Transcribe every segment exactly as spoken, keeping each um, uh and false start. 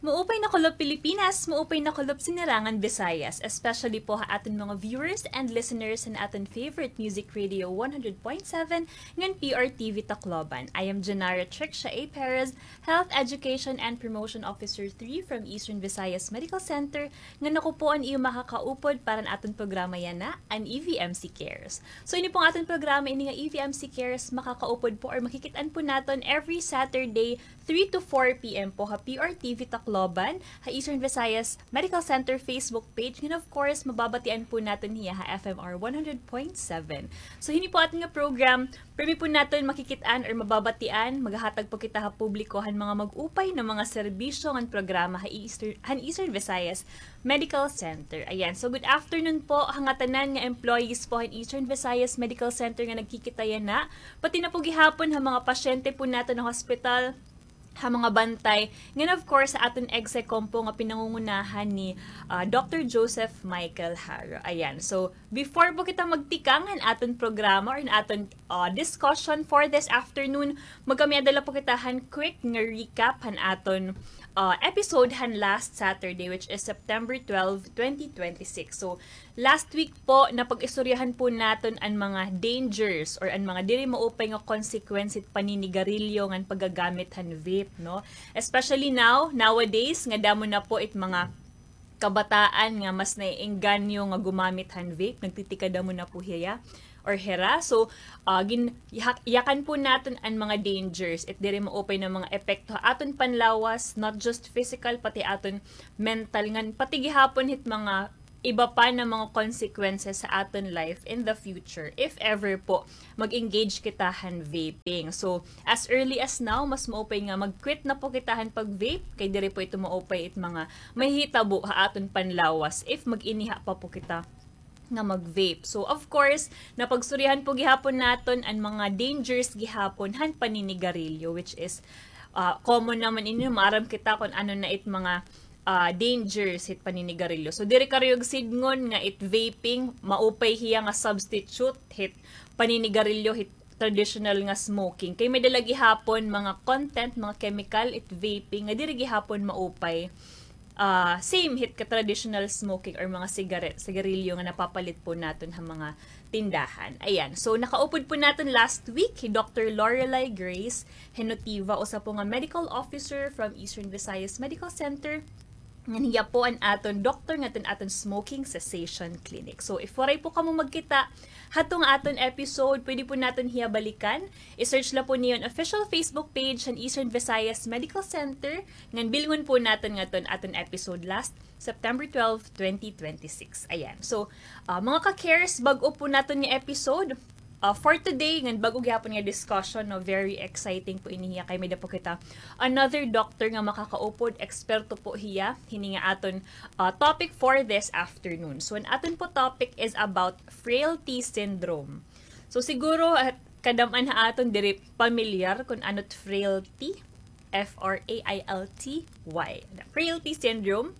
Maupay na kulop Pilipinas, maupay na kulop Sinirangan Visayas, especially po ha aton mga viewers and listeners han aton favorite music radio one hundred point seven ngan P R T V Tacloban. I am Janara Trixia A. Perez, Health Education and Promotion Officer three from Eastern Visayas Medical Center, ngan ako po an iyo makakaupod para han aton programa yana, an E V M C Cares. So, ini pong aton programa, ini nga E V M C Cares, makakaupod po or makikit-an po naton every Saturday, three to four P M po ha P R T V Tacloban, ha Eastern Visayas Medical Center Facebook page, and of course, mababatian po naton hiya ha F M R one hundred point seven. So, hini po aton nga program, pirmi po naton makikit-an or mababatian, maghahatag po kita ha publiko han mga mag-upay nga mga serbisyo ngan programa ha Eastern, han Eastern Visayas Medical Center. Ayan. So, good afternoon po ha ngatanan nga employees po han Eastern Visayas Medical Center nga nagkikita yana. Pati na po gihapon ha mga pasyente po naton ha hospital, ha mga bantay, ngan of course, ha aton EGSECOM po nga pinangungunahan ni, ah, Doctor Joseph Michael Haro. Ayan. So, before po kita magtikang han aton programa or han aton, ah, discussion for this afternoon, magkamay-ada la po kita han quick nga recap han aton, ah, episode han last Saturday, which is September twelve, twenty twenty-six. So, last week po, napag-istoryahan po naton an mga dangers or an mga diri maupay nga consequence hit paninigarilyo ngan paggagamit han vape, no? Especially now, nowadays, nga damo na po it mga kabataan nga mas naiengganyo nga gumamit han vape, nagtitikadamo na po hiya or hira. So, ah, gin-, yahak-, yakan po naton an mga dangers, it diri maupay nga mga epekto ha aton panlawas, not just physical, pati aton mental, ngan pati gihapon hit mga iba pa nga mga consequences sa aton life in the future if ever po mag-engage kita han vaping. So, as early as now, mas maupay nga mag-quit na po kita han pag-vape, kay diri po ito maupay it mga mahihitabo ha aton panlawas if mag-iniha pa po kita nga mag-vape. So, of course, napagstoryahan po gihapon naton an mga dangers gihapon han paninigarilyo, which is, ah, common naman ini, maaram kita kon ano na it mga ah, dangers hit paninigarilyo. So, diri karuyag sidngon nga it vaping, maupay hiya nga substitute hit paninigarilyo, hit traditional nga smoking. Kay may-ada la gihapon mga content, mga chemical, it vaping, nga diri gihapon maupay. Ah, same hit ka traditional smoking or mga sigaret, sigarilyo nga napapalit po naton ha mga tindahan. Ayan. So, nakaupod po naton last week hi Doctor Lorelai Grace Henotiva, usa po nga medical officer from Eastern Visayas Medical Center. Ngan hiya po an aton doktor ngadto han aton smoking cessation clinic. So, if waray po kamo magkita hadto nga aton episode, pwede po naton hiya balikan. I-search la po niyo an official Facebook page han Eastern Visayas Medical Center, ngan bilngon po naton ngadto an aton episode last September twelve, twenty twenty-six. Ayan. So, ah, mga ka-cares, bag-o po naton nga episode, ah, for today, ngan bag-o gihapon nga discussion, no, very exciting po ini hiya kay may-ada po kita another doctor nga makakaupod, eksperto po hiya hini nga aton, ah, topic for this afternoon. So, an aton po topic is about frailty syndrome. So, siguro, ah, kadam-an ha aton diri pamilyar kon ano it frailty, F R A I L T Y. Frailty syndrome.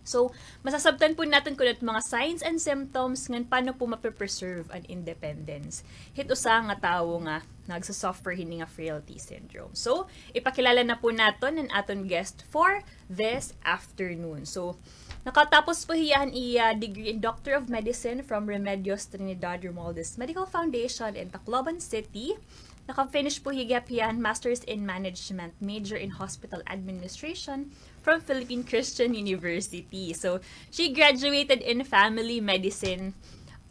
So, masasabtan po naton kon ano it mga signs and symptoms ngan paano po mape-preserve an independence hit usa nga tawo nga nagsusuffer hini nga frailty syndrome. So, ipakilala na po naton an aton guest for this afternoon. So, nakatapos po hiya han iya degree in Doctor of Medicine from Remedios Trinidad Romualdez Medical Foundation in Tacloban City. Naka-finish po hiya gihap hiya han Masters in Management, major in Hospital Administration from Philippine Christian University. So, she graduated in Family Medicine,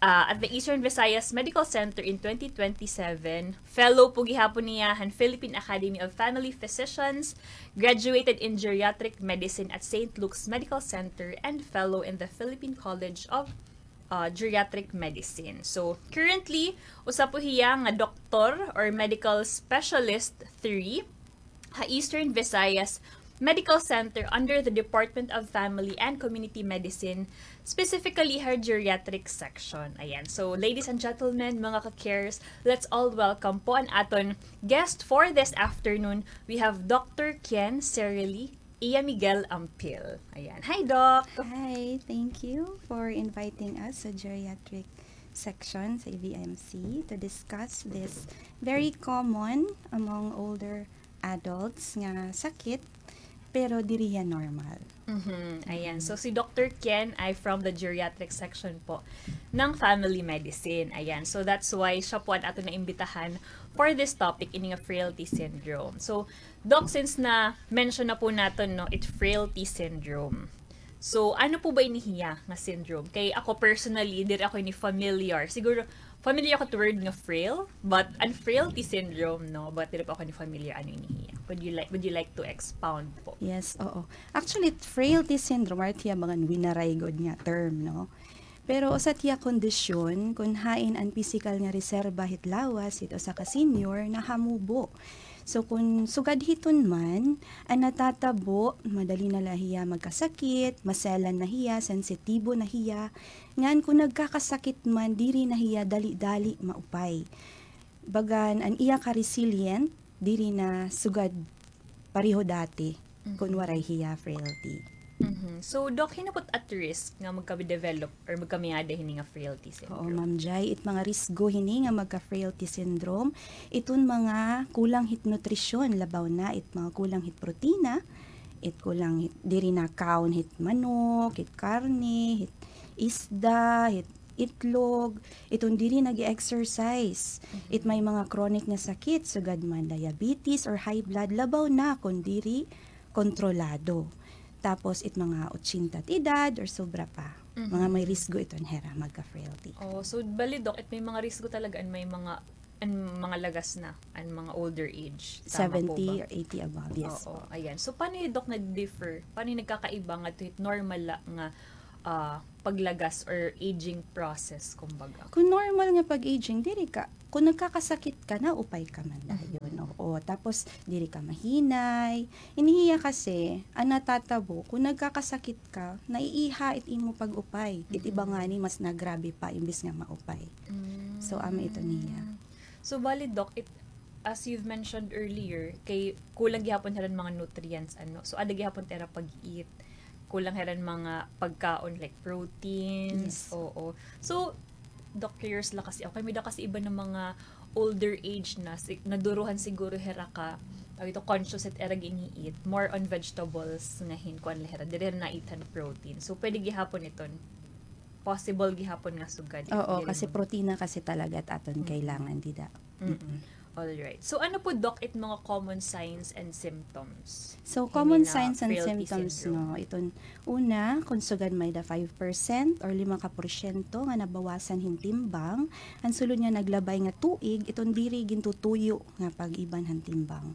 ah, at the Eastern Visayas Medical Center in twenty twenty-seven. Fellow po gihapon niya han Philippine Academy of Family Physicians, graduated in Geriatric Medicine at Saint Luke's Medical Center, and fellow in the Philippine College of ah, Geriatric Medicine. So, currently, usa po hiya nga doktor or medical specialist three ha Eastern Visayas Medical Center under the Department of Family and Community Medicine, specifically her geriatric section. Ayan. So, ladies and gentlemen, mga ka-cares, let's all welcome po an aton guest for this afternoon. We have Doctor Kian Serily Iya Miguel Ampil. Ayan. Hi, Doc! Hi, thank you for inviting us sa geriatric section sa E V M C to discuss this very common among older adults nga sakit pero diri hiya normal. Mhm, ayan. So, si Doctor Ken ay from the geriatric section po ng family medicine. Ayan. So, that's why siya po an aton naimbitahan for this topic, ini nga frailty syndrome. So, Doc, since na-mention na po naton, no, it frailty syndrome. So, ano po ba ini hiya nga syndrome? Kay ako personally, diri ako ini familiar. Siguro, familiar ako to word nga frail, but an frailty syndrome, no? But diri pa ako ini familiar ano ini hiya. Would you like, would you like to expound po? Yes, oo. Actually, frailty syndrome, art hiya mga winaray gud nga term, no? Pero usa hiya kondisyon kun hain an pisikal nga reserba hit lawas hit usa ka senior nahamubo. So, kun sugad hiton man, an natatabo, madali na la hiya magkasakit, maselan na hiya, sensitibo na hiya, ngan kun nagkakasakit man, diri na hiya dali-dali maupay. Bagan, an iya ka resilient, diri na sugad pareho dati, kun waray hiya frailty. Mhm. So, Doc, hin-o po it at risk nga magka-develop or magkamiada hini nga frailty syndrome? Oo, Ma'am Jai, it mga risgo hini nga magka-frailty syndrome, iton mga kulang hit nutrisyon, labaw na it mga kulang hit protina, it kulang hit, diri na kaon hit manok, hit karne, hit isda, hit itlog, iton diri nag-exercise, it may mga chronic nga sakit, sugad man diabetes or high blood, labaw na kon diri kontrolado. Tapos, it mga otsenta it edad or sobra pa, mga may risgo iton hira magka-frailty. Oh, so bali, Doc, it may mga risgo talaga an may mga, an mga lagas na, an mga older age. Tama po ba? Seventy or eighty above, yes po. Oo, ayan. So, paano, Doc, nag-differ? Paano nagkakaiba ngadto hit normal la nga, ah, paglagas or aging process, kumbaga? Kun normal nga pag-aging, diri ka, kun nagkakasakit ka, naupay ka man dayon, oo. Tapos, diri ka mahinay. Ini hiya kasi, an natatabo, kun nagkakasakit ka, naiiha it imo pag-upay. It iba ngani mas nagrabe pa imbis nga maupay. So, amo iton hiya. So, bali, Doc, it, as you've mentioned earlier, kay kulang gihapon hira hin mga nutrients, ano? So, ada gihapon it ira pag-eat, kulang hira hin mga pagkaon like proteins. Yes. Oo. So, Doc, curious la kasi ako. Kay may-ada kasi iba nga mga older age na, si-, naduruhan siguro hira ka, tawag ito, conscious it ira gin-i-eat, more on vegetables nga hin-, kuan la hira, diri hira na-eat han protein. So, pwede gihapon iton, possible gihapon nga sugad. Oo, kasi protina kasi talaga it aton kailangan dida. Mm-mm. All right. So, ano po, Doc, it mga common signs and symptoms? So, common signs and symptoms, no, iton una, kon sugad may-ada five percent or lima ka porsyento nga nabawasan hin timbang, an sulod nga naglabay nga tuig, iton diri gintutuyo nga pag-iban han timbang.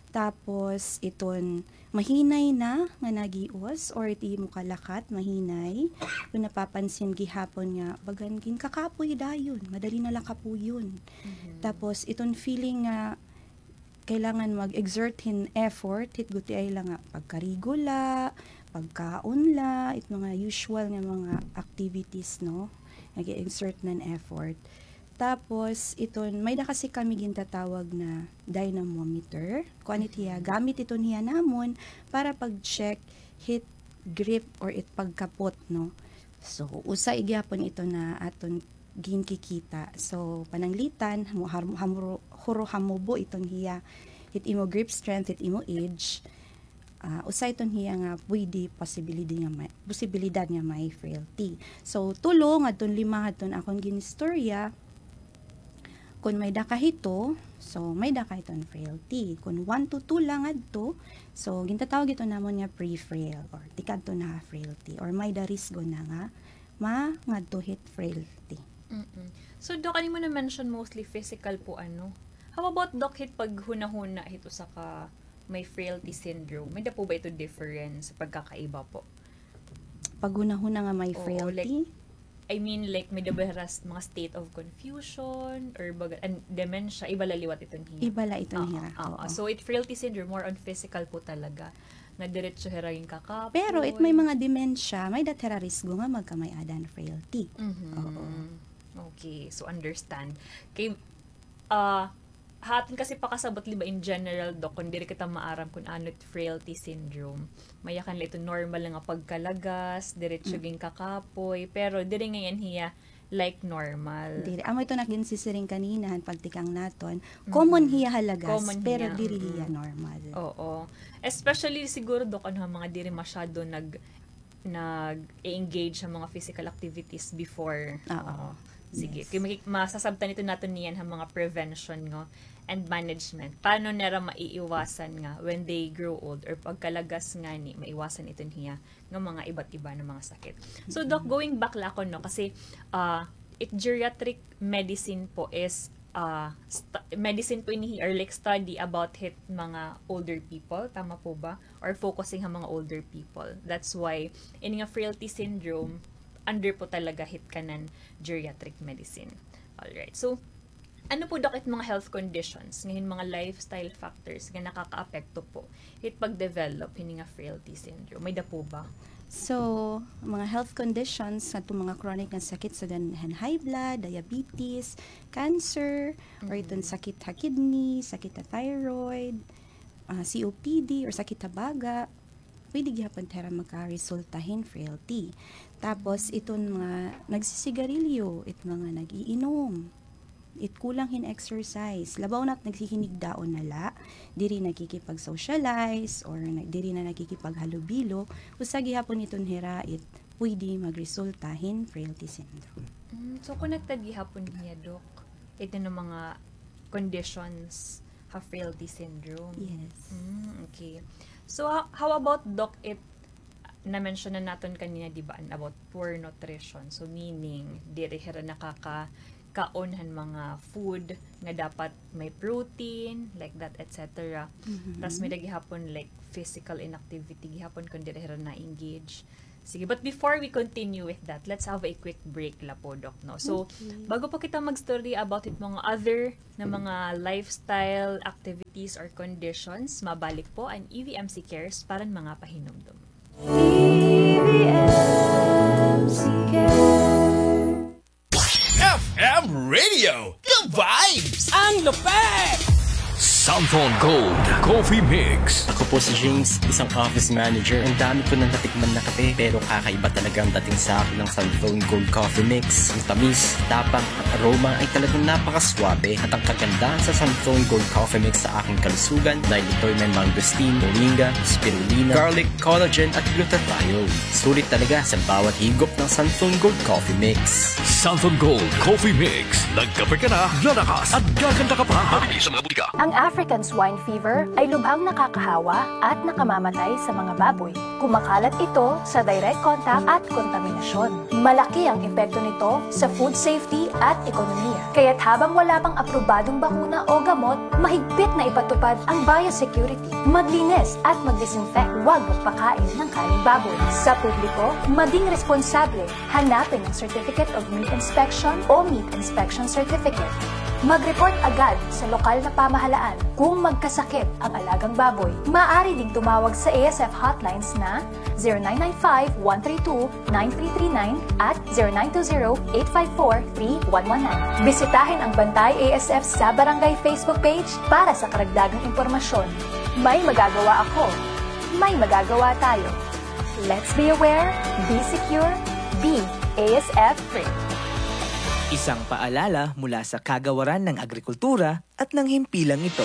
Tapos, iton mahinay na nga nagios or it imo kalakat, mahinay. Kun napapansin gihapon nga bagan ginkakapoy dayon, madali na la kapuyon. Tapos, iton feeling nga kailangan mag-exert hin effort, hit gutiay la nga pagkarigo la, pagkaon la, it mga usual nga mga activities, no? Nag-exert hin effort. Tapos, iton, may-ada kasi kami gintatawag na dynamometer. Kuan it hiya, gamit iton hiya namon para pag-check hit grip or it pagkapot, no? So, usa gihapon ito na aton ginkikita. So, pananglitan, hamu-, hamu-, hamuro-, huro-hamubo iton hiya, hit imo grip strength, hit imo age. Ah, usa iton hiya nga pwede posibilidad nga may, posibilidad nga may frailty. So, tulo ngadton lima ngadton akon ginistorya, kun may-ada ka hito, so may-ada ka hiton frailty. Kun one to two la ngadto, so gintatawag ito namon nga pre-frail or tikadto na ha frailty or may-ada risgo na nga mangadto hit frailty. Mm-mm. So, Doc, an imo na-mention mostly physical po, ano? How about, Doc, hit paghunahuna hit usa ka may frailty syndrome? May-ada po ba ito difference, pagkakaiba po? Paghunahuna nga may frailty? Oo, like, I mean, like, may-ada ba hira s-, mga state of confusion or baga-, an dementia, iba la liwat iton hiya? Iba la iton hiya, oo. So, it frailty syndrome, more on physical po talaga. Nga diretso hira ginkakapoy. Pero it may mga dementia, may-ada hira risgo nga magkamay-ada hin frailty. Mhm. Oo. Okay, so understand. Kay, ah, ha aton kasi pakasabot, di ba, in general, Doc, kun diri kita maaram kun ano it frailty syndrome. May-ada kan la ito normal nga pagkalagas, diretso ginkakapoy, pero diri ngay-an hiya like normal. Diri. Amo ito nga ginsisiring kanina, han pagtikang naton. Common hiya ha lagas, pero diri hiya normal. Oo. Especially siguro, Doc, ano, mga diri masyado nag-, nag-e-engage sa mga physical activities before. Oo. Oo. Sige. Yes. Kay maki-, masasabtan ito naton niyan ha mga prevention, no, and management. Paano nira maiiwasan nga when they grow old or pagkalagas ngani, maiwasan iton hiya nga mga iba't iba nga mga sakit. So, Doc, going back la ako, no, kasi, ah, it geriatric medicine po is, ah, st-, medicine po ini or, like, study about hit mga older people, tama po ba? Or focusing ha mga older people. That's why, ini nga frailty syndrome, under po talaga hit kanan geriatric medicine. Alright. So, ano po, Doc, it mga health conditions, ngayon mga lifestyle factors nga nakakaapekto po hit pag-develop hini nga frailty syndrome? May-ada po ba? So, mga health conditions, ngadto mga chronic nga sakit, sugad han high blood, diabetes, cancer, or iton sakit ha kidney, sakit ha thyroid, ah, C O P D, or sakit ha baga, pwede gihapon hira makaresulta hin frailty. Tapos, iton mga nagsisigarilyo, it mga nag-iinom, it kulang hin exercise, labaw na it naghihinigdaon na la, diri nakikipag-socialize, or na, diri na nakikipaghalubilo, usa gihapon iton hira it pwede magresulta hin frailty syndrome. Mm, so, connected gihapon hiya, Doc, ito nga mga conditions ha frailty syndrome. Yes. Mm, okay. So, ho-, how about, Doc, it, na-mention na naton kanina, di ba, about poor nutrition. So, meaning, diri hira nakakakaon han mga food nga dapat may protein, like that, et cetera. Mhm. Tas may-ada gihapon, like, physical inactivity gihapon kon diri hira na-engage. Sige, but before we continue with that, let's have a quick break la po, Doc, no? So, okay, bago po kita mag-story about it mga other na mga lifestyle activities or conditions, mabalik po an E V M C Cares para han mga pahinumdom. E V M C Cares. F M Radio, the vibes! Ang lupet! Santhon Gold Coffee Mix. Ako po si James, isang office manager. Ang dami ko nang natikman na kape, pero kakaiba talaga ang dating sa akin ng Santhon Gold Coffee Mix. Ang tamis, tapang, at aroma ay talagang napakaswabe. At ang kagandahan sa Santhon Gold Coffee Mix sa aking kalusugan dahil ito'y may mangosteen, moringa, spirulina, garlic, collagen, at glutathione. Sulit talaga sa bawat higop ng Santhon Gold Coffee Mix. Santhon Gold Coffee Mix. Nagkape ka na, lalakas, at gaganda ka pa. Mabibili sa mga butika. Ang African swine fever ay lubhang nakakahawa at nakamamatay sa mga baboy. Kumakalat ito sa direct contact at kontaminasyon. Malaki ang epekto nito sa food safety at ekonomiya. Kaya't habang wala pang aprobadong bakuna o gamot, mahigpit na ipatupad ang biosecurity. Maglinis at mag-disinfect. Huwag magpakain ng karing baboy. Sa publiko, maging responsable. Hanapin ang Certificate of Meat Inspection o Meat Inspection Certificate. Mag-report agad sa lokal na pamahalaan kung magkasakit ang alagang baboy. Maaari ding tumawag sa A S F hotlines na zero nine nine five, one three two, nine three three nine at zero nine two zero, eight five four, three one one nine. Bisitahin ang Bantay A S F sa Barangay Facebook page para sa karagdagang impormasyon. May magagawa ako. May magagawa tayo. Let's be aware, be secure, be A S F free. Isang paalala mula sa Kagawaran ng Agrikultura at ng Himpilang ito.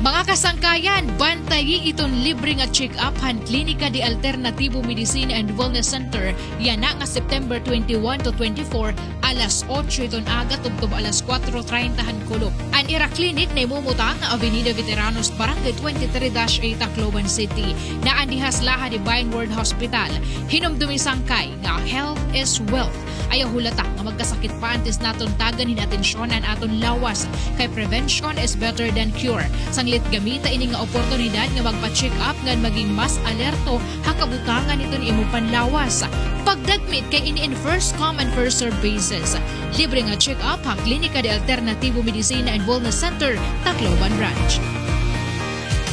Mga kasangkayan, bantayi iton libre nga check-up han Klinika de Alternativo Medicina and Wellness Center yana nga September twenty-one to twenty-four, alas otso iton aga tubtob alas kuwatro treinta han kulop. An ira klinik nahimumutang ha Avenida Veteranos, Barangay twenty-three dash A, Tacloban City. Naa an dihas la han Divine Word Hospital. Hinumdomi sangkay nga health is wealth. Ayaw hulata nga magkasakit pa antes naton tagan hin atensyon an aton lawas, kay prevention is better than cure. Sanglit gamita ini nga oportunidad nga magpa-check up ngan maging mas alerto ha kabutangan hiton imo panlawas. Pagdagmit kay ini in first come and first serve basis. Libre nga check-up ha Klinika de Alternativo Medicina and Wellness Center, Tacloban Ranch.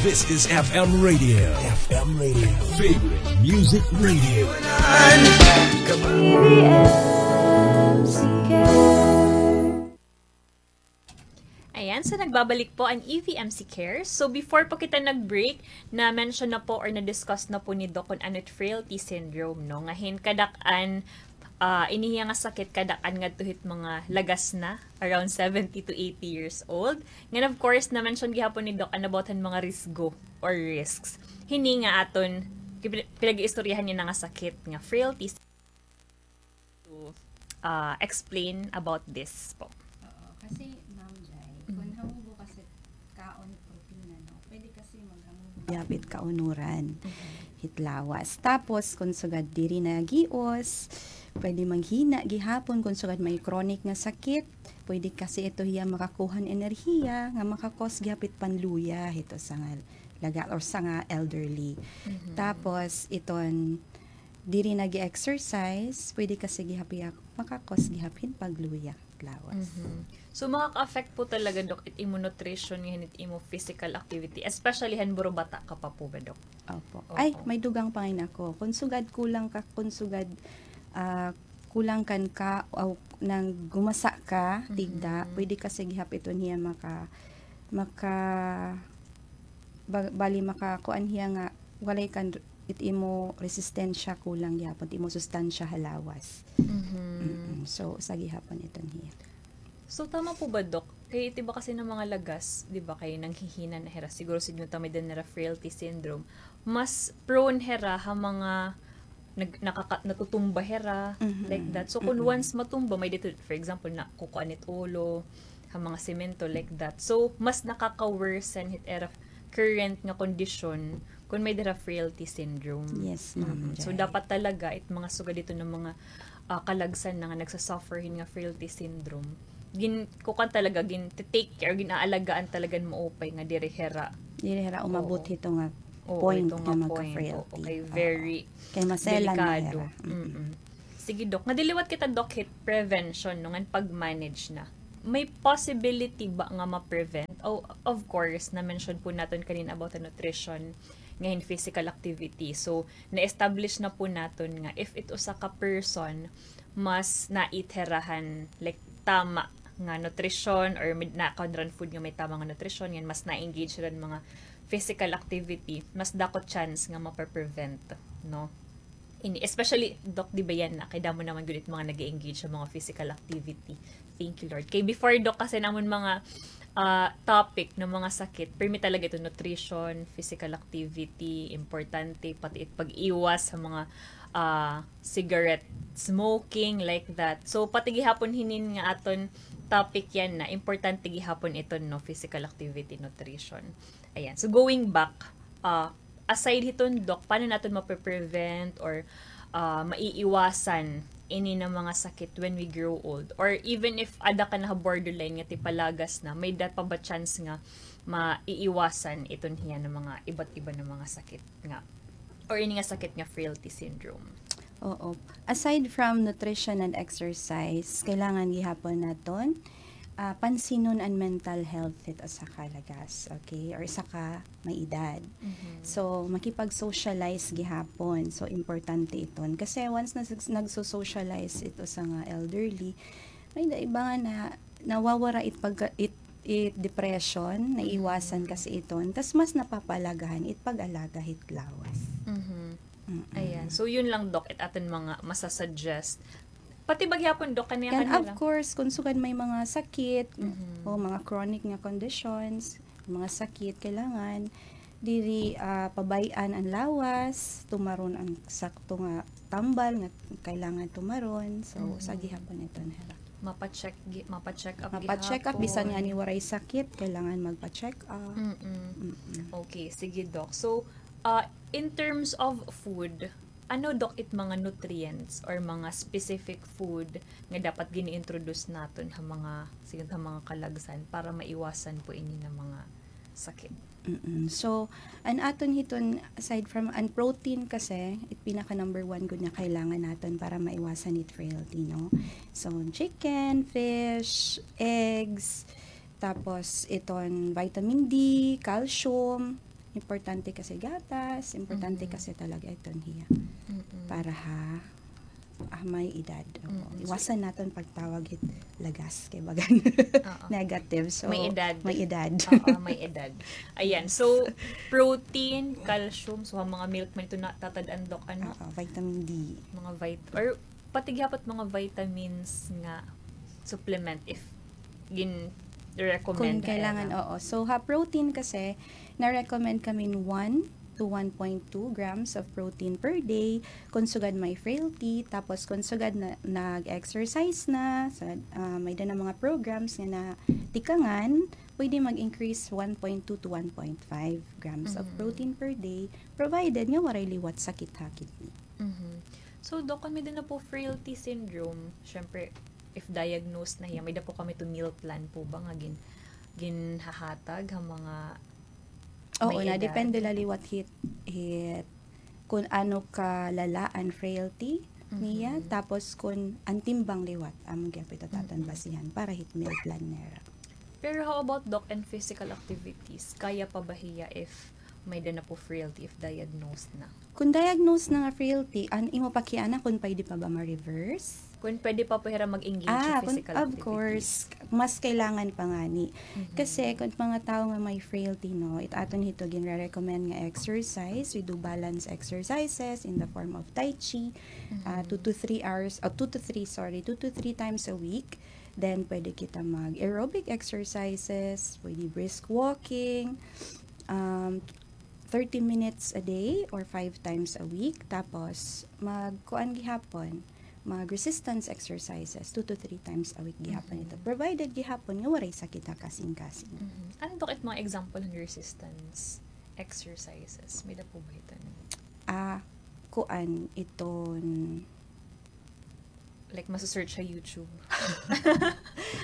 This is F M Radio. F M Radio. Favorite Music Radio. Ayan, so nagbabalik po an E V M C Cares. So before po kita nag-break, na-mention na po or na-discuss na po ni Doc kung ano it frailty syndrome, no? Nga hin kadak-an ah, ini hiya nga sakit kadak-an ngadto hit mga lagas na, around seventy to eighty years old. Ngan of course, na-mention gihapon ni Doc an about han mga risgo or risks. Hini nga aton pin-, pinag-iistoryahan niya na nga sakit nga frailty to, ah, explain about this po. Oo, kasi, Ma'am Jai, kung hamubo kasi kaon protina, no? Pwede kasi maghamubo. Gihap it kaunuran hit lawas. Tapos, kung sugad diri na gios, pwede maghina gihapon kung sugad may chronic nga sakit. Pwede kasi ito hiya makakuha han enerhiya nga maka-cause gihap it panluya hit usa nga laga or usa nga elderly. Tapos, iton diri nag-exercise, pwede kasi gihap hiya maka-cause gihap hin pagluya lawas. So, makaka-affect po talaga, Doc, it imo nutrition ngan it imo physical activity, especially han buro bata ka pa po ba, Doc? Opo. Ay, may dugang pa ngay-an ako. Kung sugad kulang ka, kung sugad, ah, kulang kan ka, aw, nang gumasa ka, tigda, pwede kasi gihap iton hiya maka, maka, ba-, bali makakuan hiya nga walay kan it imo resistensya, kulang gihapon it imo sustansya ha lawas. Mm-mm. So, usa gihapon iton hiya. So, tama po ba, Doc? Kay it iba kasi nga mga lagas, di ba, kay nanghihina na hira. Siguro, siguro ta may-ada hira frailty syndrome. Mas prone hira ha mga nag-, nakaka-, natutumba hira, like that. So, kung once matumba, may dito, for example, nakukuan it ulo, ha mga semento, like that. So, mas nakaka-worsen hit ira current nga kondisyon kung may-ada hira frailty syndrome. Yes, ma'am. So, dapat talaga it mga sugad dito nga mga, ah, kalagsan na nga nagsasuffer hin nga frailty syndrome, gin-, kukuan talaga, gin-take care, gin-aalagaan talaga hin maupay nga diri hira. Diri hira umabot hito nga point nga magka-frailty. Oo, kay very delikado. Kay maselan na hira. Mm-mm. Sige, Doc. Nga diliwat kita, Doc, hit prevention, no, ngan pag-manage na. May possibility ba nga ma-prevent? Oh, of course, na-mention po naton kanina about the nutrition, nga hin physical activity. So, na-establish na po naton nga if it usa ka person, mas na-eat hira han, like, tama nga nutrition or mid-, nakaon hira han food nga may tama nga nutrition, ngan mas na-engage hira han mga physical activity, mas dako chance nga ma-prevent, no? Ini, especially, Doc, di ba yana, kay damo naman gud it mga nag-e-engage ha mga physical activity. Thank you, Lord. Kay before, Doc, kasi namon mga, ah, topic nga mga sakit, pirmi talaga ito, nutrition, physical activity, importante, pati it pag-iwas ha mga, ah, cigarette smoking, like that. So, pati gihapon hinin nga aton topic yana, importante gihapon iton, no, physical activity, nutrition. Ayan. So, going back, ah, aside hiton, Doc, paano naton mape-prevent or, ah, maiiwasan ini nga mga sakit when we grow old? Or even if ada ka na ha borderline nga tipalagas na, may-ada pa ba chance nga maiiwasan iton hiya nga mga iba't iba nga mga sakit nga, or ini nga sakit nga frailty syndrome? Oo. Aside from nutrition and exercise, kailangan gihapon naton, ah, pansinon an mental health hit usa ka lagas, okay? Or usa ka may edad. So, makipag-socialize gihapon. So, importante iton. Kasi once nas-, nagso-socialize it usa nga elderly, may-ada iba nga na, nawawara it pagka-, it, it depression, naiwasan kasi iton. Tas mas napapaalagahan it pag-alaga hit lawas. Mm-mm. Ayan. So, yun lang, Doc, it aton mga masasuggest. Pati ba gihapon, Doc, kaniya, and of course, kung sugad may mga sakit, o mga chronic nga conditions, mga sakit, kailangan diri, ah, pabay-an an lawas, tumaron an sakto nga tambal nga kailangan tumaron. So, usa gihapon iton hira. Mapa-check gi-, mapa-check up gihapon. Mapa-check up, bisan ngani waray sakit, kailangan magpa-check up. Mm-mm. Okay, sige, Doc. So, ah, in terms of food, ano, Doc, it mga nutrients or mga specific food nga dapat gini-introduce naton ha mga, sige, ha mga kalagsan para maiwasan po ini nga mga sakit? Mm-mm. So, an aton hiton, aside from an protein kasi, it pinaka number one gud nga kailangan naton para maiwasan it frailty, no? So, chicken, fish, eggs, tapos iton vitamin D, calcium, importante kasi gatas, importante kasi talaga iton hiya. Para ha, ah, may edad. Oo. Iwasan naton pagtawag hit lagas kay bagan negative. So, may edad. May edad. Oo, may edad. Ayan. So, protein, calcium, so, ha mga milk man ito natatad-an, Doc, ano? Oo, vitamin D. Mga vit-, or Pati gihapon mga vitamins nga supplement if gin-recommend Kung kailangan, oo. So, ha protein kasi, na-recommend kami one to one point two grams of protein per day kung sugad may frailty, tapos kung sugad na, nag-exercise na, sa, ah, may-ada na mga programs nga natikangan, pwede mag-increase one point two to one point five grams of protein per day, provided nga waray liwat sakit ha kidney. So, Doc, kon may-ada na po frailty syndrome, syempre, if diagnosed na hiya, may-ada po kami to meal plan po ba nga gin-, ginhahatag ha mga Oo, na depende la liwat hit, hit kun ano kalala an frailty niya, tapos kun an timbang liwat, amo gihapon it aton basihan para hit meal plan nira. Pero how about, Doc, and physical activities? Kaya pa ba hiya if may-ada na po frailty, if diagnosed na? Kun diagnosed na nga frailty, an imo pa kiana kun pwede pa ba ma-reverse? Kun pwede pa po hira mag-engage sa physical activities. Ah, of course. Mas kailangan pa ngani. Kasi kun mga tawo nga may frailty, no, it aton hito ginre-recommend nga exercise. We do balance exercises in the form of tai chi. Ah, two to three hours, oh, two to three, sorry, two to three times a week. Then, pwede kita mag-aerobic exercises, pwede brisk walking, um, thirty minutes a day or five times a week. Tapos, mag-kuan gihapon, mag-resistance exercises two to three times a week gihapon ito. Provided gihapon nga waray sakit ha kasingkasing. Ano, Doc, it mga example han resistance exercises? May-ada po ba ito? Ah, kuan iton Like, masu-search sa YouTube.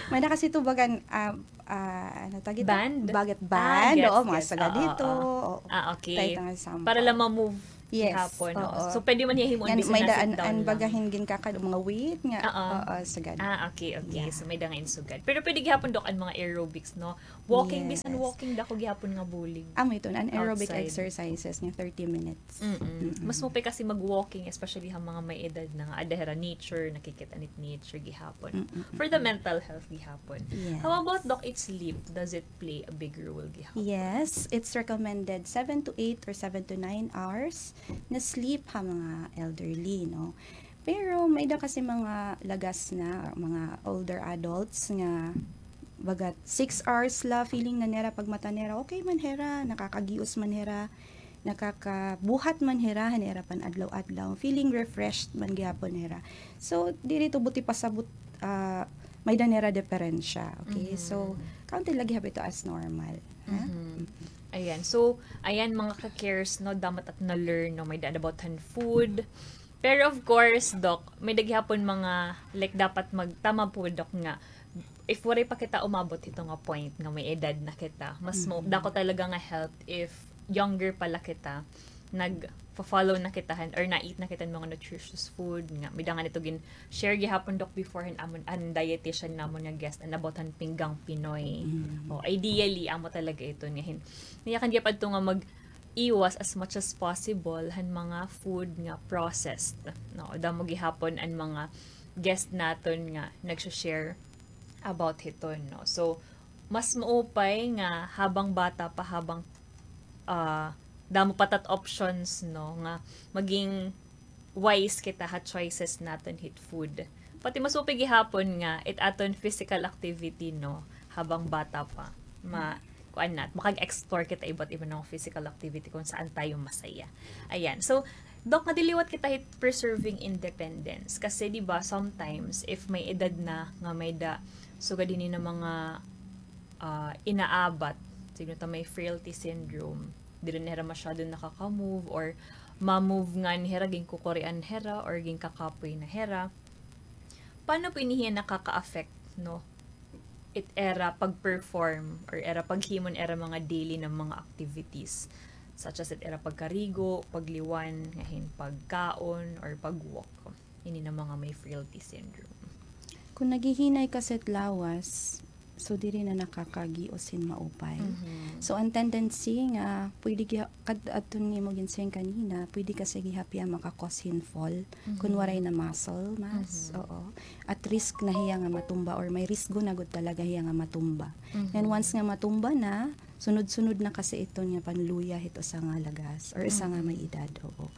May-ada kasi ito bagan, ah, ah, ano tawag ito? Band? Bagat Ah, band. gets, Oo, mga gets. sagad Oo, ito. Oo. Ah, okay. Para lang ma-move gihapon, oo. So, pwede man hiya himoon bisan na sit down lang. May-ada an baga hin ginkakad-on, mga weight nga. Oo, sagad. Ah, okay, okay. So, may-ada nga hin sugad. Pero pwede gihapon, Doc, an mga aerobics, no? Walking, bisan walking, dako gihapon nga bulig. Amo iton, anaerobic exercises nga thirty minutes. Mas maupay kasi mag-walking, especially ha mga may edad na nga, aada hira nature, nakikit-an it nature gihapon. For the mental health gihapon. How about, Doc, it sleep? Does it play a big role gihapon? Yes, it's recommended seven to eight or seven to nine hours na sleep ha mga elderly, no? Pero may-ada kasi mga lagas na, mga older adults nga bagat six hours la, feeling na nira pagmata nira, okay man hira, nakakagios man hira, nakakabuhat man hira han ira pan-adlaw-adlaw, feeling refreshed man gihapon hira. So, diri ito buti pasabot, ah, may-ada nira diperensya, okay? So, counted la gihap ito as normal, ha? Ayan. So, ayan, mga ka-cares, no, damo it aton na-learn, no, may-ada about han food. Pero of course, Doc, may-ada gihapon mga, like, dapat magtama po, Doc, nga if waray pa kita umabot hito nga point nga may edad na kita, mas mo, dako talaga nga help if younger pa la kita, nag-follow na kita han, or na-eat na kita han mga nutritious food nga. May-ada ngani ito gin-share gihapon, Doc, before han amon, an dietitian namon nga guest, an about han pinggang Pinoy. O, ideally, amo talaga ito nga hin-, nayakan gihap adto nga mag-iwas as much as possible han mga food nga processed. No, damo gihapon an mga guest naton nga nagsa-share about hiton, no. So, mas maupay nga habang bata pa, habang, ah, damo pa it at options, no, nga maging wise kita ha choices naton hit food. Pati mas maupay gihapon nga it aton physical activity, no, habang bata pa. Ma-, kuan nat-, makag-explore kita iba't iba nga physical activity kung saan tayo masaya. Ayan. So, Doc, nga diliwat kita hit preserving independence. Kasi, di ba, sometimes, if may edad na nga may-ada, sugad hini nga mga, ah, inaabat, siguro ta may frailty syndrome, diri na hira masyado nakaka-move or ma-move ngani hira, ginkukurian hira or ginkakapoy na hira. Paano po ini hiya nakaka-affect, no? It ira pag-perform or ira paghimo han ira mga daily nga mga activities, such as it ira pagkarigo, pagliwan, nga hin pagkaon, or pag-walk. Ini nga mga may frailty syndrome. Kung naghihinay kasi it lawas, so diri na nakakagios hin maupay. So, an tendency nga pwede giha-, kad-, adton nga imo ginsiring kanina, pwede kasi gihap hiya maka-cause hin fall. Kun waray na muscle mass, oo. At risk na hiya nga matumba or may risgo na gud talaga hiya nga matumba. Then once nga matumba na, sunod-sunod na kasi iton nga panluya hit usa nga lagas or usa nga may edad, oo.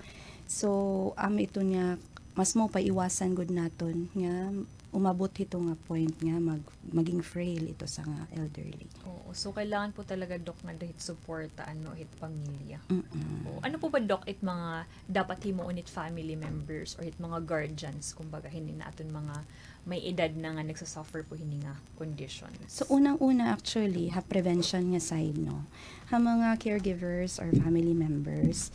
So, amo iton nga mas mao pa iwasan gud naton nga umabot hito nga point nga mag-, maging frail ito sa nga elderly. Oo. So, kailangan po talaga, Doc, nga dahil suporta, ano, hit pamilya. Mm-mm. Oo. Ano po ba, Doc, it mga dapat himuon hit family members or hit mga guardians, kumbaga, hini nga aton mga may edad na nga nagsasuffer po hini nga conditions? So, unang-una, actually, ha prevention nga side, no? Ha mga caregivers or family members,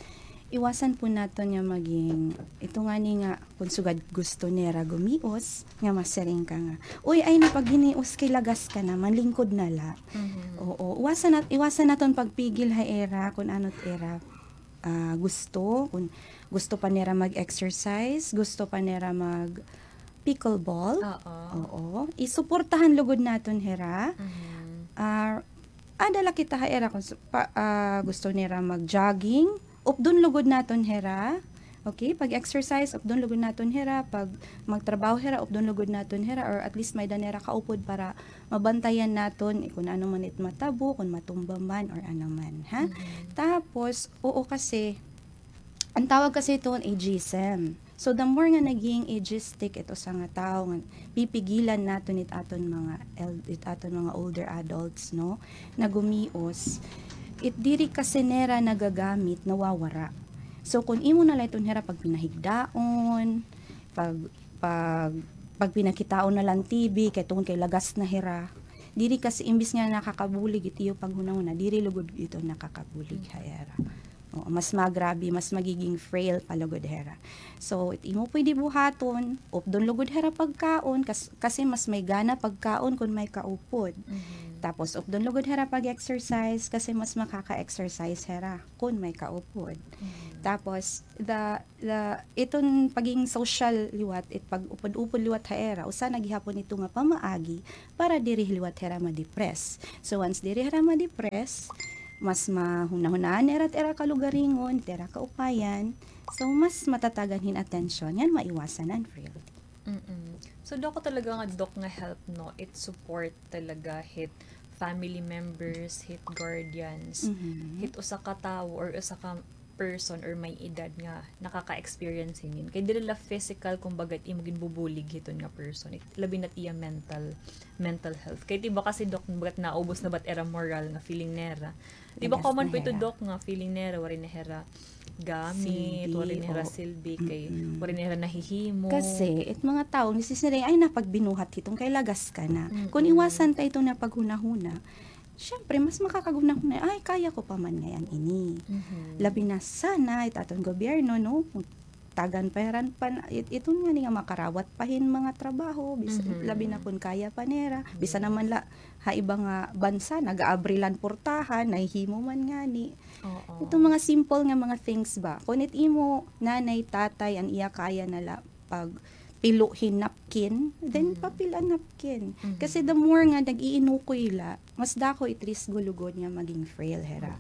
iwasan po naton nga maging, ito ngani nga, kun sugad gusto nira gumios, nga masiring ka nga, "Uy, ay na, pag ginios kay lagas ka na, manlingkod na la." Mhm. Oo, iwasan nat-, iwasan naton pagpigil ha ira, kun ano it ira, ah, gusto, kun gusto pa nira mag-exercise, gusto pa nira mag-pickleball. Oo. Oo. Isuportahan lugod naton hira. Mhm. Ah, ada la kita ha ira kun su-, pa, ah, gusto nira mag-jogging, updon lugod naton hira. Okay, pag-exercise, updon lugod naton hira. Pag magtrabaho hira, updon lugod naton hira, or at least may-ada nira kaupod para mabantayan naton, eh, kun ano man it matabo, kun matumba man, or ano man, ha? Mhm. Tapos, oo, kasi, ang tawag kasi ito, ageism. So, the more nga naging ageistic ito sa nga tawo, nga pipigilan naton it aton mga el-, it aton mga older adults, no, na gumios, it diri kasi nira nagagamit, nawawara. So, kun imo na la iton hira pagpinahigdaon, pag, pag, pagpinakitaon na la hin T V, kay tungod kay lagas na hira, diri kasi, imbis nga nakakabulig it iyo paghunahuna, diri lugod ito nakakabulig ha ira. Oo, mas magrabe, mas magiging frail pa lugod hira. So, it imo pwede buhaton, updon lugod hira pagkaon, kas-, kasi mas may gana pagkaon kun may kaupod. Mhm. Tapos, updon lugod hira pag-exercise, kasi mas makaka-exercise hira kun may kaupod. Mhm. Tapos, the, the, iton paging social liwat, it pag-upod-upod liwat ha ira, usa na gihapon ito nga pamaagi para diri liwat hira ma-depress. So, once diri hira ma-depress, mas mahunahunaan nira it ira kalugaringon, it ira kaupayan. So, mas matatagan hin atensyon. Ngan maiwasan an frailty. Mm-mm. So, dako talaga nga, Doc, nga help, no? It support talaga hit family members, hit guardians, Mhm. hit usa ka tawo or usa ka person or may edad nga nakaka-experience hinin. Kay diri la physical, kumbaga, it imo ginbubulig hiton nga person. It, labi na it iya mental, mental health. Kay, di ba, kasi, Doc, bagat naubos na ba it ira moral nga feeling nira. Di ba, lagas common na po ito, hira. Doc, nga feeling nira, waray na hira gamit, silbi, waray na hira, oo, silbi, kay, mm-mm, waray na hira nahihimo. Kasi, it mga tawo, nagsisinadya, ay, na pagbinuhat hiton kay lagas ka na. Mm-mm. Kun iwasan ta ito nga paghunahuna, siyempre, mas makakagunahuna, "Ay, kaya ko pa man ngay-an ini." Mhm. Labi na sana it aton gobyerno, no? Tagan pa hira pan-, it-, iton ngani nga makarawat pa hin mga trabaho, bis-, mhm, labi na kun kaya pa nira. Bisan, yes, naman la, ha iba nga bansa, nag-aabri la hin portahan, nahihimo man ngani. Oo. Iton mga simple nga mga things ba? Kun it imo nanay, tatay, an iya kaya na la, pagpilo hin napkin, then, mm, papil an napkin. Mhm. Kasi the more nga nag-iinukoy la, mas dako it risgo lugod nga maging frail hira.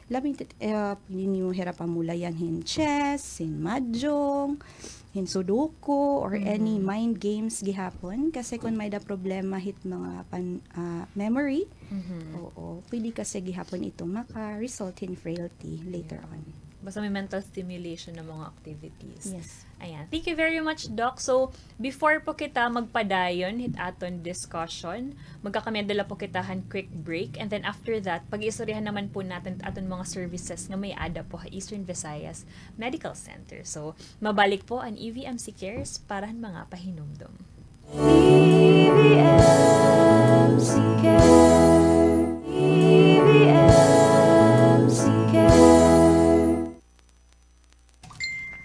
Labi, eh, pwede niyo hira pamulayan hin chess, hin mahjong, hin sudoku, or any, mhm, mind games gihapon. Kasi kun may-ada problema hit mga pan-, ah, memory, mhm, oo, pwede kasi gihapon ito maka-result hin frailty later on. Basta may mental stimulation na mga activities. Yes. Ayan. Thank you very much, Doc. So, before po kita magpadayon hit aton discussion, magkakamay-ada la po kita han quick break. And then after that, pag-iistoryahan naman po naton it aton mga services nga may-ada po ha Eastern Visayas Medical Center. So, mabalik po an E V M C Cares para han mga pahinumdom. E V M C Care. E V M C Care.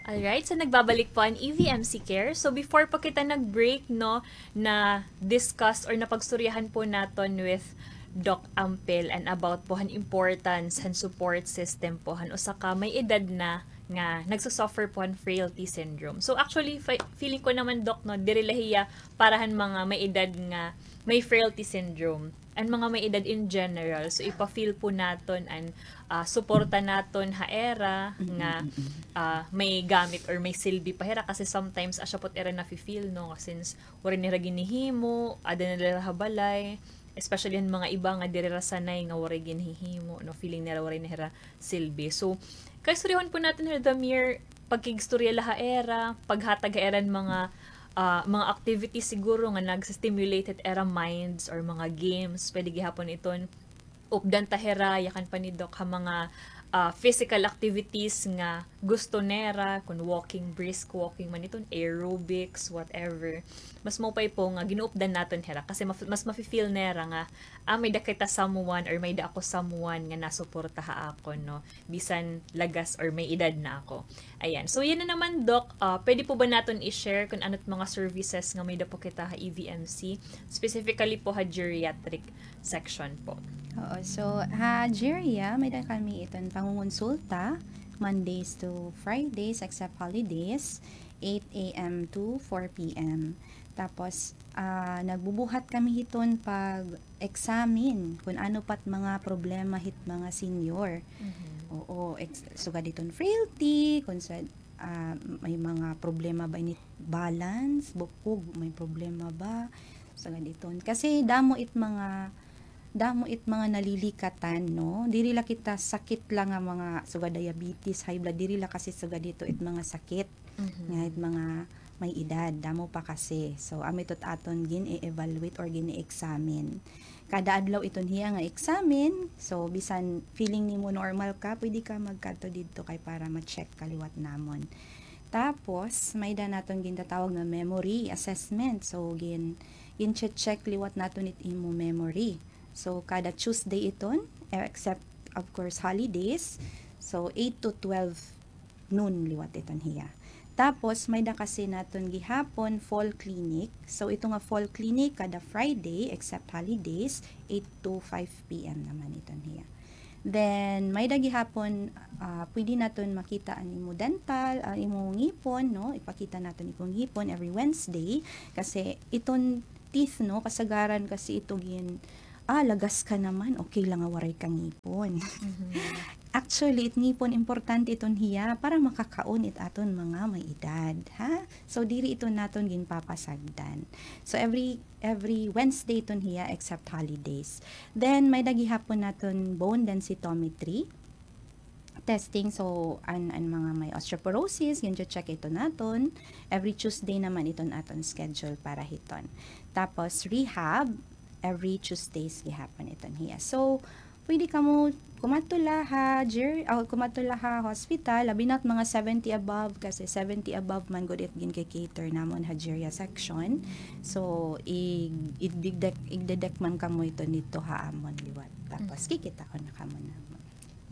Alright, so nagbabalik po an E V M C Care. So before po kita nag-break, no, na-discuss or napagstoryahan po naton with Doc Ampel and about po han importance han support system po han usa ka may edad na nga nagsusuffer po han frailty syndrome. So actually, fe-, feeling ko naman, Doc, no, diri la hiya para han mga may edad nga may frailty syndrome. An mga may edad in general, so ipa-feel po naton an, ah, suporta naton ha ira nga, mm-mm, ah, may gamit or may silbi pa hira, kasi sometimes asya po it ira nafi-feel, no, nga since waray nira ginhihimo, ada na la ha balay, especially han mga iba nga diri ra sanay nga waray ginhihimo, no, feeling nira waray na hira silbi. So, kaistoryahon po naton hira, the mere pagkigstorya la ha ira, paghatag ha ira hin mga, ah, mga activities siguro nga nagsi-stimulate it ira minds or mga games, pwede gihapon iton updan ta hira, yakan pa ni Doc, ha mga, ah, physical activities nga gusto nira, kun walking, brisk walking man iton, aerobics, whatever. Mas maupay po nga ginuupdan naton hira kasi maf-, mas mafe-feel nira nga, ah, may-da kita someone or may-da ako someone nga nasuporta ha akon, no? Bisan lagas or may edad na ako. Ayan. So, yana naman, Doc, ah, pwede po ba naton i-share kun ano't mga services nga may-da po kita ha E V M C, specifically po ha geriatric section po? Oo. So, ha geria, may-da kami iton pangungonsulta, Mondays to Fridays, except holidays, eight A M to four P M. Tapos, ah, nagbubuhat kami hiton pag-examine kun ano pa't mga problema hit mga senior. Mhm. Oo, ex-, sugad hiton frailty, kun sa, ah, may mga problema ba ini balance, bukog, may problema ba? Sugad hiton. Kasi damo it mga, damo it mga nalilikatan, no? Diri la kita sakit la nga mga sugad diabetes, high blood, diri la kasi sugad hito it mga sakit. Mhm. Nga it mga may edad, damo pa kasi. So, amo ito't aton gin-e-evaluate or gin-e-examine. Kada adlaw iton hiya nga examine. So, bisan feeling nimo normal ka, pwede ka magkadto didto kay para ma-check ka liwat namon. Tapos, may-da naton gintatawag nga memory assessment. So, gin-, gin-check liwat naton it imo memory. So, kada Tuesday iton, except, of course, holidays. So, eight to twelve noon liwat iton hiya. Tapos, may-da kasi naton gihapon fall clinic. So, ito nga fall clinic kada Friday, except holidays, eight to five P M naman iton hiya. Then, may-da gihapon, ah, pwede naton makita an imo dental, an imo ngipon, no? Ipakita naton imo ngipon every Wednesday. Kasi iton teeth, no? Kasagaran kasi ito gin-, ah, lagas ka naman, okay la nga waray ka ngipon. Mhm. Actually, it ngipon importante iton hiya para makakaon it aton mga may edad, ha? So, diri ito naton ginpapasagdan. So, every, every Wednesday iton hiya except holidays. Then, may-da gihapon naton bone densitometry testing. So, an, an mga may osteoporosis, gin-check ito naton. Every Tuesday naman iton aton schedule para hiton. Tapos, rehab, every Tuesdays gihapon iton hiya. So, pwede kamo kumadto la ha ger-, o, kumadto la ha hospital, labi na't mga seventy above, kasi seventy above man gud it gin-cater namon ha geria section. So, ig-, igdidek-, igdedek man kamo ito didto ha amon liwat. Tapos, mhm, kikitaon na kamo namon.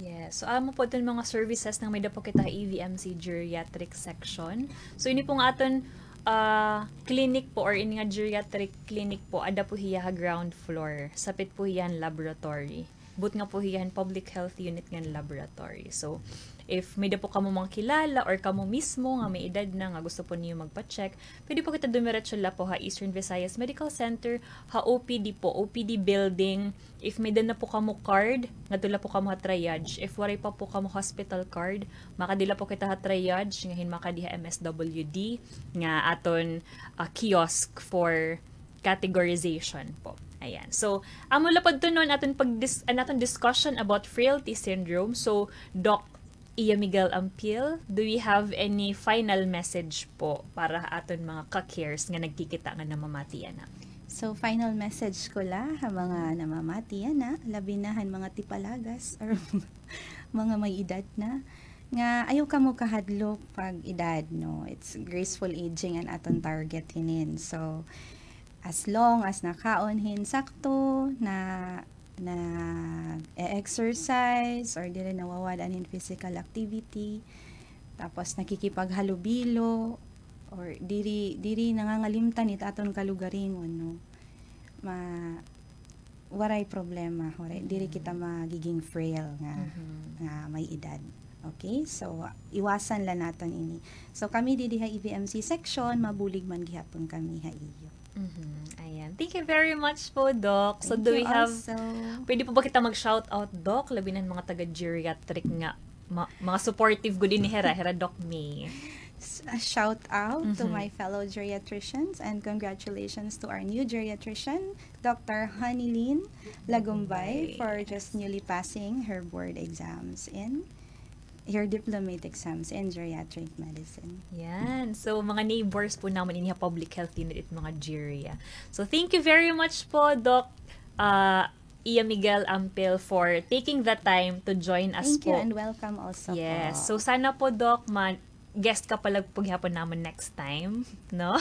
Yes. So, amo po iton mga services nga may-da po kita ha E V M C geriatric section. So, ini po nga aton, ah, clinic po or ini nga geriatric clinic po, ada po hiya ha ground floor. Sapit po hiya han laboratory. Butnga po hiya han public health unit ngan laboratory. So, if may-da po kamo mga kilala or kamo mismo nga may edad na nga gusto po niyo magpa-check, pwede po kita dumiretso la po ha Eastern Visayas Medical Center, ha O P D po, O P D building. If may-da na po kamo card, ngadto la po kamo ha triage. If waray pa po kamo hospital card, makadi la po kita ha triage, ngahin makadi ha M S W D, nga aton, ah, kiosk for categorization po. Ayan. So, amo la po adto, no, an aton pag-dis-, an aton discussion about frailty syndrome. So, Doc Iya Miguel Ampil, do we have any final message po para aton mga ka-cares nga nagkikita nga namamati yana? So, final message ko la ha mga namamati yana, labi na han mga tipalagas or mga may edad na, nga ayaw kamo kahadlok pag edad, no? It's graceful aging an aton target hinin. So, as long as nakaon hin sakto, na, nag-e-exercise, or diri nawawad-an hin physical activity, tapos nakikipaghalubilo, or diri, diri nangangalimtan it aton kalugaringon, no? Ma-, waray problema, waray, diri kita magiging frail nga, mhm, nga may edad. Okay? So, iwasan la naton ini. So, kami didi ha E V M C section, mabulig man gihapon kami ha iyo. Mhm, ayan. Thank you very much po, Doc. So, do we have, pwede po ba kita mag-shout out, Doc? Labi na an mga taga-geriatric nga ma-, mga supportive gud ini hira, hira Doc May. S-, a shout out to my fellow geriatricians and congratulations to our new geriatrician, Doctor Honeylene Lagumbay, for just newly passing her board exams in your diplomate exams in geriatric medicine. Yan. So, mga neighbors po namon ini ha public health unit it mga geria. So, thank you very much po, Doc, uh, Iya Miguel Ampil, for taking the time to join us Thank you po. And welcome also Yes. po. So, sana po, Doc, ma-guest ka pala po gihapon namon next time, no?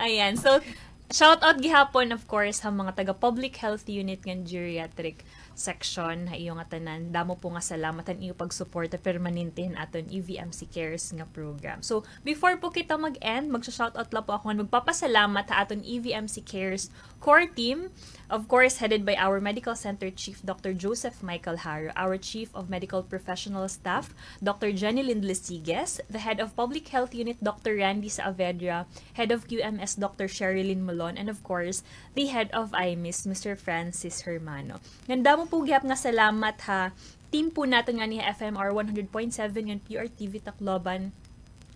Ayan. So, shout out gihapon, of course, ha mga taga Public Health Unit ngan Geriatric Section, ha iyo ngatanan. Damo po nga salamat han iyo pagsuporta permanente han aton E V M C Cares nga program. So, before po kita mag-end, magsa-shout out la po ako ngan magpapasalamat ha aton E V M C Cares core team, of course, headed by our Medical Center Chief, Doctor Joseph Michael Haro, our Chief of Medical Professional Staff, Doctor Jenny Lindley Sigues, the Head of Public Health Unit, Doctor Randy Saavedra, Head of Q M S, Doctor Sherilyn Molon, and of course, the Head of I M I S, Mister Francis Hermano. Ngan damo po gihap nga salamat ha team po naton ngani ha F M R one hundred point seven ngan P R T V Tacloban,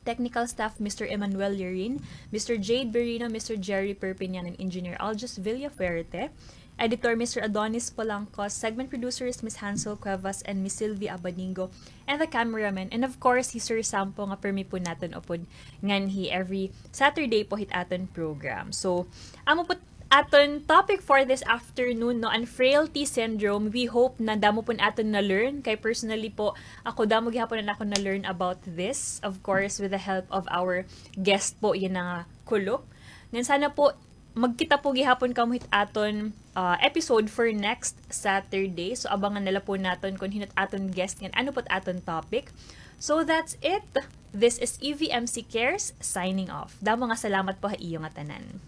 technical staff, Mister Emmanuel Lirin, Mister Jade Berino, Mister Jerry Perpignan, and Engineer Aljus Villafuerte, editor, Mister Adonis Polanco, segment producers, Miss Hansel Cuevas and Miss Sylvia Abanigo, and the cameraman, and of course, hi Sir Sampo nga permi po naton upod nganhi every Saturday po hit aton program. So, amo po aton topic for this afternoon, no, an frailty syndrome. We hope na damo pon aton na-learn. Kay personally po, ako damo gihapon an ako na-learn about this. Of course, with the help of our guest po, yana nga kulop. Ngan sana po, magkita po gihapon kamo hit aton, ah, episode for next Saturday. So, abangan na la po naton kon hin-o it aton guest ngan ano po it aton topic. So, that's it. This is E V M C Cares signing off. Damo nga salamat po ha iyo ngatanan.